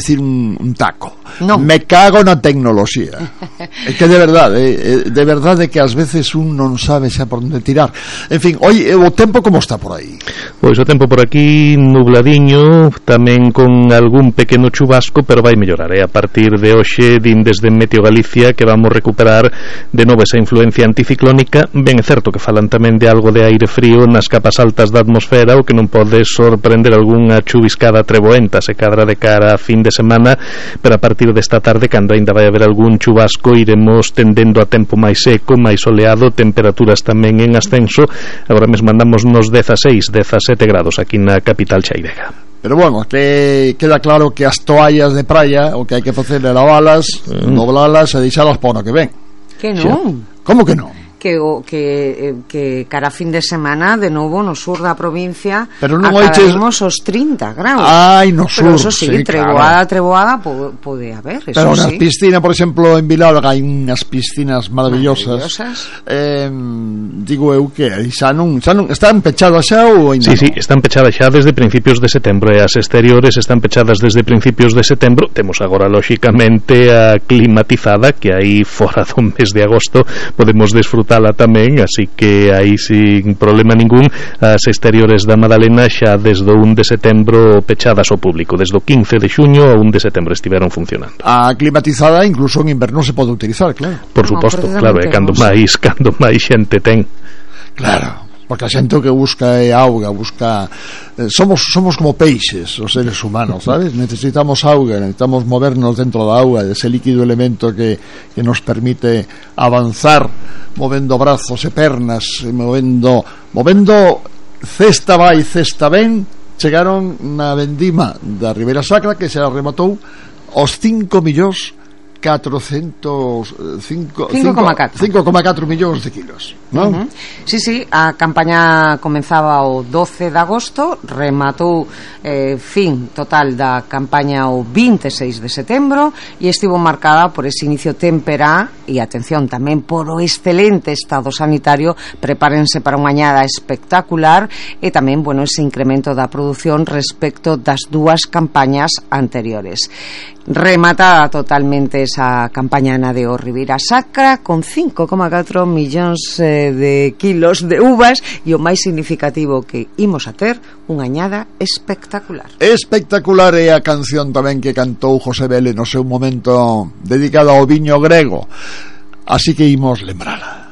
dicir un taco. Non. Me cago na tecnoloxía. É que de verdade que ás veces un non sabe xa por onde tirar. En fin, hoy o tempo como está por aí? Pois o tempo por aquí nubladiño, tamén con algún pequeno chubasco, pero vai mellorar. A partir de hoxe din desde Meteo Galicia que vamos recuperar de novo esa influencia anticiclónica. Ben é certo que falan tamén de algo de aire frío nas capas altas da atmosfera, o que non pode sorprender algunha chuviscada treboenta se cadra de cara a fin de semana, pero a partir desta tarde, cando ainda vai haber algún chubasco, iremos tendendo a tempo máis seco, máis soleado, temperaturas tamén en ascenso. Agora mesmo andamos nos 16, 17 grados aquí na capital xairega. Pero bueno, que queda claro que as toallas de praia o que hai que facer é lavalas, doblalas e deixalas para o que ven. Que non? Como que non? Que cara fin de semana de novo no sur da provincia acabaremos os 30 graus. Ai, no sur. Pero eso sí, treboada pode haber, eso. Pero nas sí. piscinas, por exemplo, en Vilalga hai unhas piscinas maravillosas. Digo eu que xa non están pechadas xa ou ainda? Sí, están pechadas xa desde principios de setembro, e as exteriores están pechadas desde principios de setembro. Temos agora lóxicamente a climatizada, que aí fora do mes de agosto podemos desfrutala tamén, así que aí sin problema ningún. As exteriores da Madalena xa desde o 1 de setembro pechadas ao público, desde o 15 de xuño ao 1 de setembro estiveron funcionando. A climatizada incluso en inverno se pode utilizar, claro. Por suposto, claro, é cando máis xente ten. Claro, porque a xente que busca é auga, somos como peixes os seres humanos, sabes? Necesitamos auga, necesitamos movernos dentro da auga, ese líquido elemento que nos permite avanzar, movendo brazos e pernas, movendo cesta vai, cesta ven. Chegaron na vendima da Ribeira Sacra, que se rematou os 5,4 millóns de kilos, non? Sí, a campaña comenzaba o 12 de agosto, rematou fin total da campaña o 26 de setembro e estivo marcada por ese inicio témpera e, atención, tamén por o excelente estado sanitario. Prepárense para unha añada espectacular e tamén, ese incremento da produción respecto das dúas campañas anteriores. Rematada totalmente esa campaña na de Ribeira Sacra con 5,4 millóns de kilos de uvas, e o máis significativo que imos a ter unha añada espectacular. Espectacular é a canción tamén que cantou José Vélez no seu momento dedicada ao viño grego, así que imos lembrala.